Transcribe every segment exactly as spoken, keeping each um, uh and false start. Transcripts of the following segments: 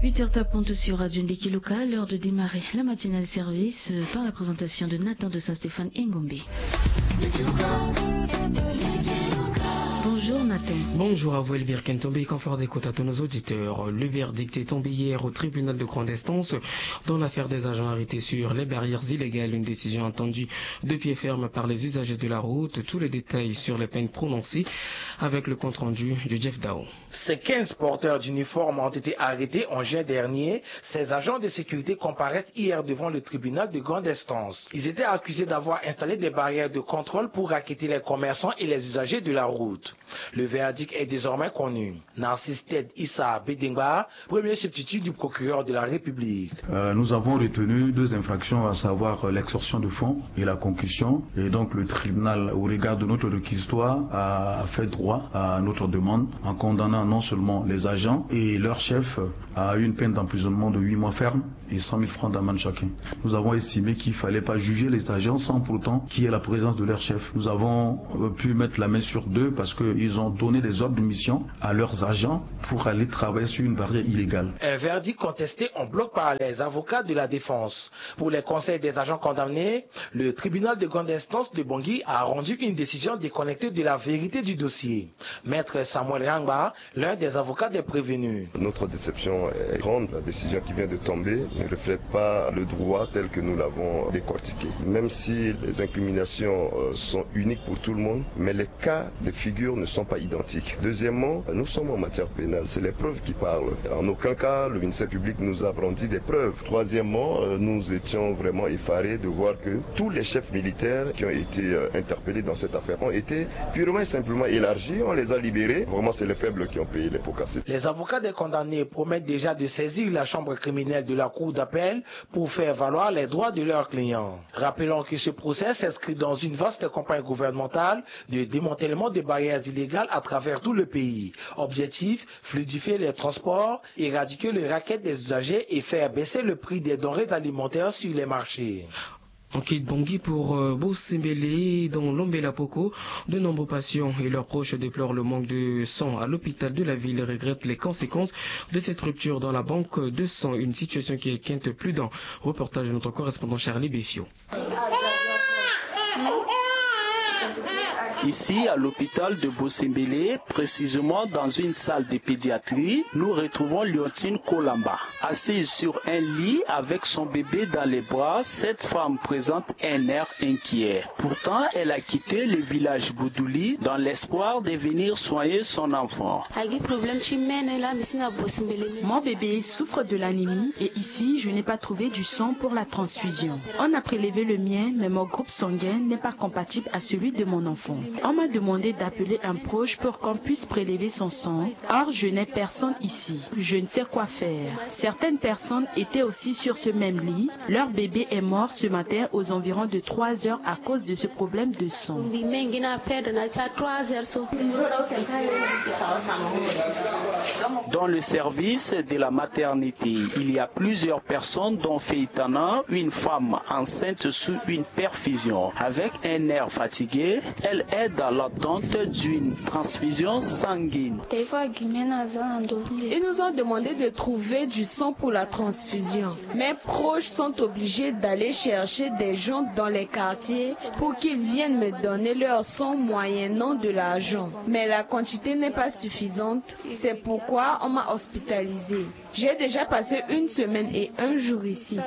Huit heures tapantes sur Radio Ndeki Local, l'heure de démarrer la matinale service, euh, par la présentation de Nathan de Saint-Stéphane Engombe. Bonjour Nathan. Bonjour à vous Elvire Kentombe, confort d'écoute à tous nos auditeurs. Le verdict est tombé hier au tribunal de grande instance dans l'affaire des agents arrêtés sur les barrières illégales, une décision attendue de pied ferme par les usagers de la route. Tous les détails sur les peines prononcées avec le compte-rendu de Jeff Dao. Ces quinze porteurs d'uniformes ont été arrêtés en juin dernier. Ces agents de sécurité comparaissent hier devant le tribunal de grande instance. Ils étaient accusés d'avoir installé des barrières de contrôle pour racketter les commerçants et les usagers de la route. Le verdict est désormais connu. Narcisse Ted Issa Bedengba, premier substitut du procureur de la République. Euh, nous avons retenu deux infractions, à savoir, euh, l'extorsion de fonds et la concussion. Et donc, le tribunal, au regard de notre réquisitoire, a, a fait droit à notre demande en condamnant non seulement les agents et leur chef à une peine d'emprisonnement de huit mois ferme et cent mille francs d'amende chacun. Nous avons estimé qu'il fallait pas juger les agents sans pour autant qu'il y ait la présence de leur chef. Nous avons, euh, pu mettre la main sur deux parce qu'ils ont donné des ordres de mission à leurs agents pour aller travailler sur une barrière illégale. Un verdict contesté en bloc par les avocats de la défense. Pour les conseils des agents condamnés, le tribunal de grande instance de Bangui a rendu une décision déconnectée de la vérité du dossier. Maître Samuel Rangba, l'un des avocats des prévenus. Notre déception est grande. La décision qui vient de tomber ne reflète pas le droit tel que nous l'avons décortiqué. Même si les incriminations, euh, sont uniques pour tout le monde, mais les cas de figure ne sont pas identiques. Deuxièmement, nous sommes en matière pénale, c'est les preuves qui parlent. En aucun cas, le ministère public nous a brandi des preuves. Troisièmement, euh, nous étions vraiment effarés de voir que tous les chefs militaires qui ont été, euh, interpellés dans cette affaire ont été purement et simplement élargis, on les a libérés. Vraiment, c'est les faibles qui ont payé les pots cassés. Les avocats des condamnés promettent déjà de saisir la chambre criminelle de la cour d'appel pour faire valoir les droits de leurs clients. Rappelons que ce procès s'inscrit dans une vaste campagne gouvernementale de démantèlement des barrières illégales à travers tout le pays. Objectif, fluidifier les transports, éradiquer le racket des usagers et faire baisser le prix des denrées alimentaires sur les marchés. On quitte Bangui pour, euh, Bosembele, dans l'Ombela Poko. De nombreux patients et leurs proches déplorent le manque de sang à l'hôpital de la ville et regrettent les conséquences de cette rupture dans la banque de sang. Une situation qui inquiète plus d'un. Reportage de notre correspondant Charlie Befio. Ici, à l'hôpital de Bosembele, précisément dans une salle de pédiatrie, nous retrouvons Leontine Kolamba. Assise sur un lit avec son bébé dans les bras, cette femme présente un air inquiet. Pourtant, elle a quitté le village Boudouli dans l'espoir de venir soigner son enfant. Mon bébé souffre de l'anémie et ici, je n'ai pas trouvé du sang pour la transfusion. On a prélevé le mien, mais mon groupe sanguin n'est pas compatible à celui de mon enfant. On m'a demandé d'appeler un proche pour qu'on puisse prélever son sang. Or, je n'ai personne ici. Je ne sais quoi faire. Certaines personnes étaient aussi sur ce même lit. Leur bébé est mort ce matin aux environs de trois heures à cause de ce problème de sang. Dans le service de la maternité, il y a plusieurs personnes, dont Feitana, une femme enceinte sous une perfusion. Avec un air fatigué, elle est dans l'attente d'une transfusion sanguine. Ils nous ont demandé de trouver du sang pour la transfusion. Mes proches sont obligés d'aller chercher des gens dans les quartiers pour qu'ils viennent me donner leur sang moyennant de l'argent. Mais la quantité n'est pas suffisante, c'est pourquoi on m'a hospitalisé. J'ai déjà passé une semaine et un jour ici.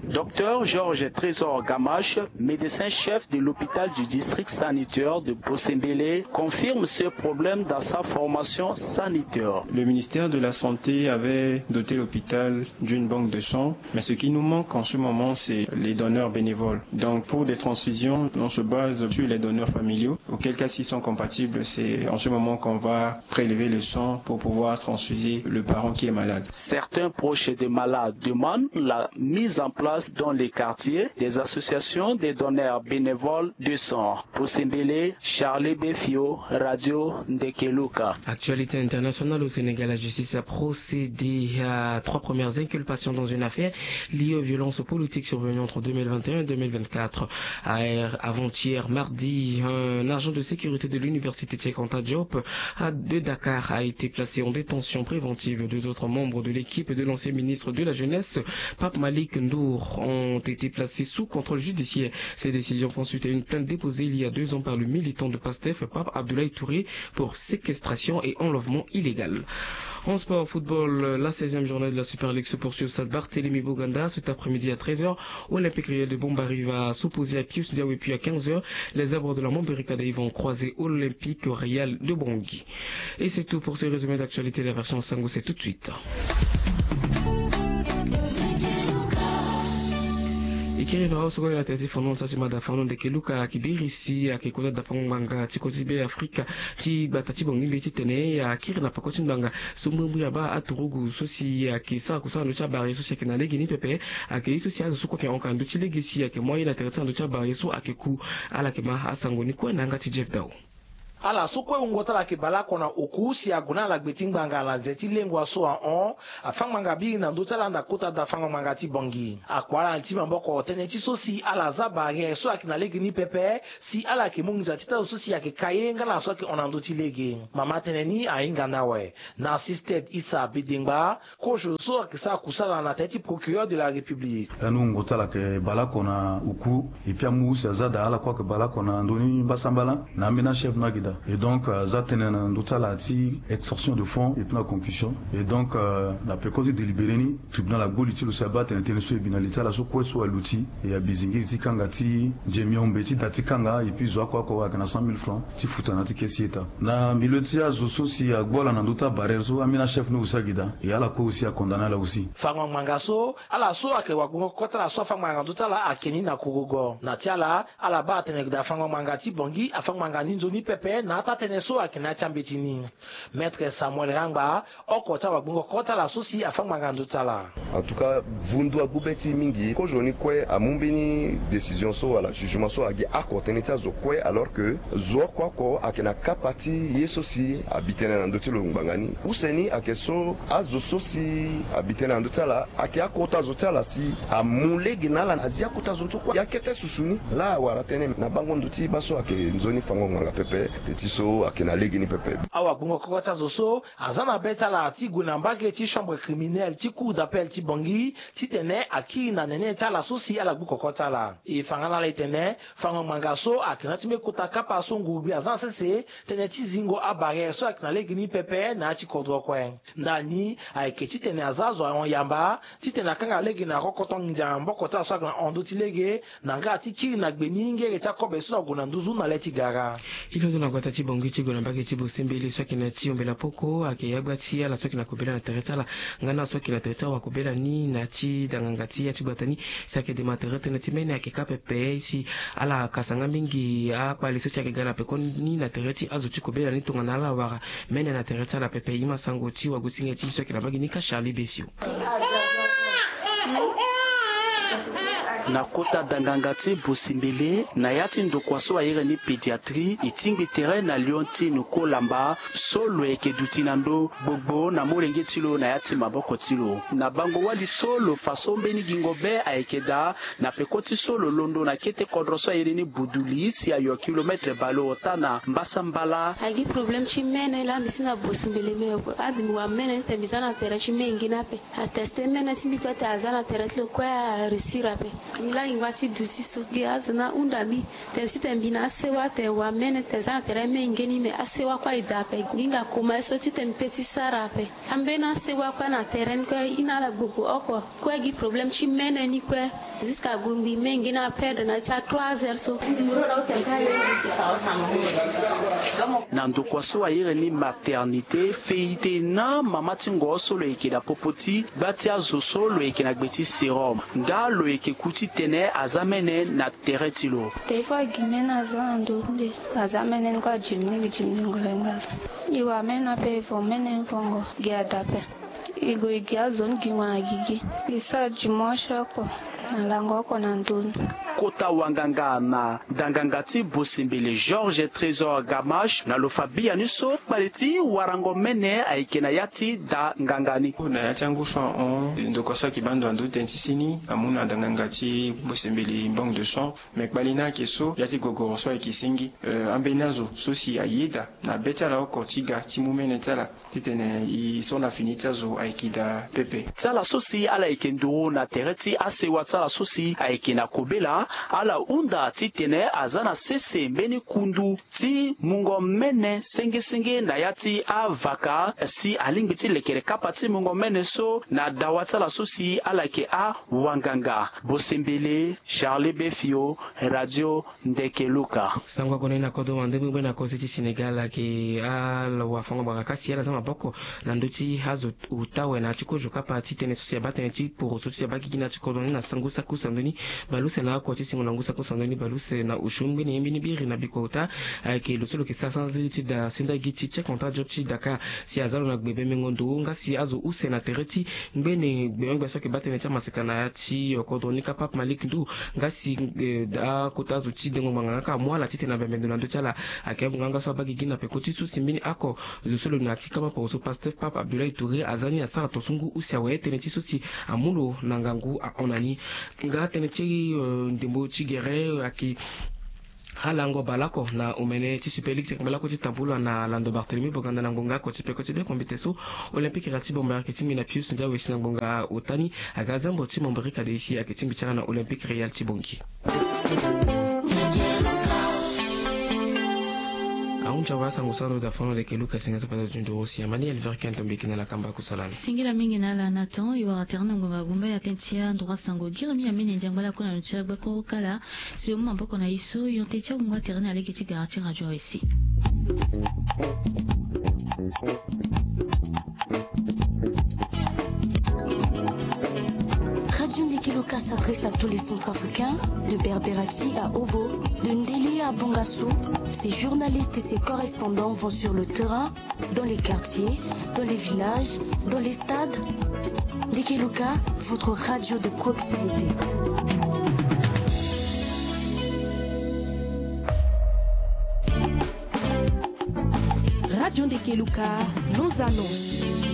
Docteur Georges Trésor Gamache, médecin chef de l'hôpital du district sanitaire de Bosembele, confirme ce problème dans sa formation sanitaire. Le ministère de la Santé avait doté l'hôpital d'une banque de sang, mais ce qui nous manque en ce moment, c'est les donneurs bénévoles. Donc, pour des transfusions, on se base sur les donneurs familiaux, auquel cas, s'ils sont compatibles, c'est en ce moment qu'on va prélever le sang pour pouvoir transfuser le parent qui est malade. Certains proches des malades demandent la mise en place dans les quartiers des associations des donneurs bénévoles de sang. Bosembele, Charlie Befio, Radio Ndekeluka. Actualité internationale au Sénégal, la justice a procédé à trois premières inculpations dans une affaire liée aux violences politiques survenues entre deux mille vingt et un et deux mille vingt-quatre. Avant-hier, mardi, un agent de sécurité de l'université Cheikh Anta Diop a de Dakar a été placé en détention préventive. Deux autres membres de l'équipe de l'ancien ministre de la Jeunesse, Pape Malik Ndour, ont été placés sous contrôle judiciaire. Ces décisions font suite à une plainte déposée il y a deux ans par le militant de PASTEF, Pape Abdoulaye Touré, pour séquestration et enlèvement illégal. En sport, football, la seizième journée de la Super League se poursuit au stade Barthélémy Boganda cet après-midi à treize heures. Olympique Real de Bombari va s'opposer à Pius Diaw et puis à quinze heures, les Zèbres de la Momberica vont croiser Olympique Real de Bangui. Et c'est tout pour ce résumé d'actualité. La version Sango, c'est tout de suite. E kiri na awa so kue na tere ti fano na sasi mada fano ndeke Luka ayeke biri si ayeke kota dafango ngbanga ti kota ti Be Afrika ti gbata ti Bangui mbi titene akiri na peko ti ngbanga so mbrimbri abaa aturugu so si ayeke sara kusala na ndö ti abare so si ayeke na lege ni pepe. Ayeke ye so si azo so kue ayeke hon ka na ndö ti lege si ayeke mu aye na tere ti na ndö ti abare so ayeke ku. Ala yeke ma asango ni kue na yanga ti Jeff Dau. Ala so kue wungo ti ala ayeke bale oko na oku si ague na ala gbe ti ngbanga na nze ti lengua so ahon. Afa ngbanga biri na ndö ti ala nda kota dafango ngbanga ti Bangui. Akua ala na ti maboko tënë ti so si ala za barrière so ayeke na lege ni pepe si ala yeke mu nginza ti tâ zo so si ayeke ka ye nga na so ayeke hon na ndö ti lege. Mama tënë ni ahinga ni awe. Narcisse Ted Issa Bedengba, kozo so ayeke sara kusala na tere ti procureur de la République. Lani wungo ti ala ayeke bale oko na oku. Et puis amu si aza daa ala kue ayeke bale oko na ndö ni mbasambala na ambeni achef ni ayeke daa. Et donc aza tënë na ndö ti ala ti extorsion de fonds et puis na concussion. Et donc na peko ti délibéré ni, tribunal agbu li ti lo si abaa atene tënë so e bi na li ti ala so kue so aluti. E abi zingiri ti kanga ti nzemiombe ti da ti kanga et puis zo oko oko ayeke na cent mille francs ti futa na ya ti kesi eta. Na milieu ti azo so si agbu ala na ndö ti abarrière so, ambeni achef ni aussi ayeke daa. E ala kue aussi acondamné ala aussi. Fango ngbanga so, ala so ayeke wagbongo kota ala so afa ngbanga na ndö ti ala ayeke ni na kogogo. Na ti ala, ala baa atene ayeke daa fango ngbanga ti Bangui afa ngbanga ni nzoni pepe na ata tënë so ayeke na ya ti ambeti ni. Maître Samuel Rangba, oko ti awagbongo kota ala so si afa ngbanga na ndö ti ala. En tout cas, vundu agbu be ti e mingi. Kozo ni kue amu mbeni décision so wala jugement so agi oko tënë ti azo kue, alors que zo oko oko ayeke na kapa ti ye so si abi tënë na ndö ti lo ngbanga ni. Use ni ayeke so azo so si abi tënë na ndö ti ala ayeke akota zo ti ala si amu lege na ala na zi akota zo so kue. Ya kete susu ni laa awara tënë na bango ndo ti baa so ayeke nzoni fango ngbanga pepe, teti so ayeke na lege ni pepe. Awagbongo koko ti azo so aza na be ti ala ti gue na mbage ti chambre criminelle ti cour d'appel ti Bangui titene akiri na nene ti ala so si ala gbu koko ti ala. E fa nga na ala etene fango ngbanga so ayeke na ya ti mbeni kota kapa so ngurugbi aza na sese, tënë ti zingo abarrière so ayeke na lege ni pepe na ya ti kodro kue. Ndani ayeke titene aza azo ahon yamba titene akanga lege na rokoto nginza na maboko ti ala so ayeke na hon ndö ti lege, na nga ti kiri na gbe ni ngere ti akobe so na gue na nduzu na le ti gara. E londo na gbata ti Bangui ti gue na mbage ti Bosembele so ayeke na ya ti ombela poko ayeke ya gba ti ala so ayeke na kobela na tere ti ala nga na ala so ayeke na tere ti awakobela ni na ya ti danganga ti ya ti gbata ni. Si ayeke dema tere tënë ti mene ayeke kâ pepe si ala kasa nga mingi akpale so si ayeke ga na peko ni na tere ti azo ti kobela ni tongana ala wara mene na tere ti ala pepe. E ma sango ti wagosinge ti e so ayeke na mbage ni ka Charlie Befio. Na kota danganga ti Bosembele na ya ti ndokua so airi ni pédiatrie, e tingbi tere na Leontine Kolamba so lo yeke duti na ndö gbogbo na molenge ti lo na ya ti maboko ti lo. Na bango wali so lo fa so mbeni gingo be ayeke daa na peko ti so lo londo na kete kodro so airi ni Buduli si ayo kilometre bale ota na mbasambala. Agi problème ti mene laa mbi si na Bosembele me ade mbi wara mene ni tene mbi za na tere ti menge ni ape. Ateste mene ti mbi kue tene aza na tere ti lo kue aréussir ape. Mbi laa ngingo ti duti so gi azo ni ahunda mbi tene si tene mbi na asewa tene wara mene tene za na tere menge ni me asewa kue aye daa ape. Ngingo akoma ye so titene mbi pe ti sara ape. Ambeni asewa kue na tere ni kue e na ala gbogbo oko. Kue gi problème ti mene ni kue. Jusqu'à gongbi menge ni aperdre na ya ti a trois heures so. Na ndokua so airi ni maternité, feite na mama ti ngo so lo yeke na popo ti gba ti azo so lo yeke na gbe ti sérum. Nga lo yeke ku titene aza mene na tere ti lo. Tene kue agi mene aza na ndo nde aza mene ni kue ajimini gi jimini ngolengba azo. E wara mene ape e vo mene ni vongo gi ada ape. E gue e gi azo ni gingo na gigi. E sara dimanche oko. Na lango oko na ndun. Kota wanganga na ndanganga ti bosembele Georges Trésor Gamache na lo fa biani so kpale ti warango mene ayeke na ya ti da nganga ni. Na ya ti angu so ahon ndokua so ayeke baa ndo na ndö tënë ti seni amu na ndanganga ti bosembele Banque de Sang. Me kpale ni ayeke so ya ti gogoro so ayeke senge. Ambeni azo so si ayeda na be ti ala oko ti ga ti mu mene ti ala titene e so na fini ti azo ayeke daa pepe. Ti ala so si ala yeke nduru na tere ti asewa ti ala so si ayeke na kobela, ala hunda titene aza na sese mbeni kundu ti mungo mene sengesenge na ya ti avaka si alingbi ti lekere kapa ti mungo mene so na dawa ti ala so si ala yeke awanganga. Bosembele, Charlie Befio, Radio Ndeke Luka. Sango ague na kodro wande gbengbe na kozo ti Sénégal ayeke ala wafango-gbanga kasi ala za maboko na ndö ti azo ota awe na ya ti kozo kapa ti tënë so si abaa tënë ti poroso so si abaa gigi na ya ti kodro ni na sango saki use na ndö ni bale use na oko ti singo na ngu saki use na ndö ni bale use na osio ngbene ye mbeni biri na bikua ota. Ayeke lo so lo yeke sara sanziri ti da senda gi ti tchèque Antoine Diop ti Dakar si aza lo na gbe bembengo ndo nga si azo use na tere ti ngbene gbemengbe so ayeke baa tënë ti amaseka na ya ti kodro ni kapa Pape Malick Ndour. Nga si akota azo ti dengo ngbanga nga kâ amu ala titene abembe ndo na ndö ti ala. Ayeke amu nga nga so abaa gigi na peko ti so si mbeni oko zo so lo na ya ti kama poroso Pastef Pape Abdoulaye Touré aza ni asara tongaso ngu use awe tënë ti so si amu lo na ngangu ahon na ni. Nga tënë ti ndembo ti gere ayeke alango baleoko na omene ti Super League ti kpale oko ti tambula na lando Barthélemy Boganda na ngonga oko ti peko ti be kombite so. Olympique Real ti Bambilor ayeke tingbi na Pius Ndiaye si na ngonga ota ni aga zambo ti Mombori Kadei si ayeke tingbi ti ala na Olympique Real ti Bangui. Ahunzi awe asango so ando daa fano leke Luka senga so fata ti nduru si Emmanuel Verken tombiki na lakamba kusala ni. Singila mingi na ala na temps e wara tere na ngonga gumba ya tënë ti anduru asango. Giremi amene ndiangba lakue na lo ti agbakuru kala. Si lo mu maboko na e so yo tënë ti agungu atere na lege ti gara ti radio awe si. Radio Ndeke Luka s'adresse à tous les Centrafricains, de Berberati à Obo, de Ndele à Bongasso. Ses journalistes et ses correspondants vont sur le terrain, dans les quartiers, dans les villages, dans les stades. Ndeke Luka, votre radio de proximité. Radio Ndeke Luka, nos annonces.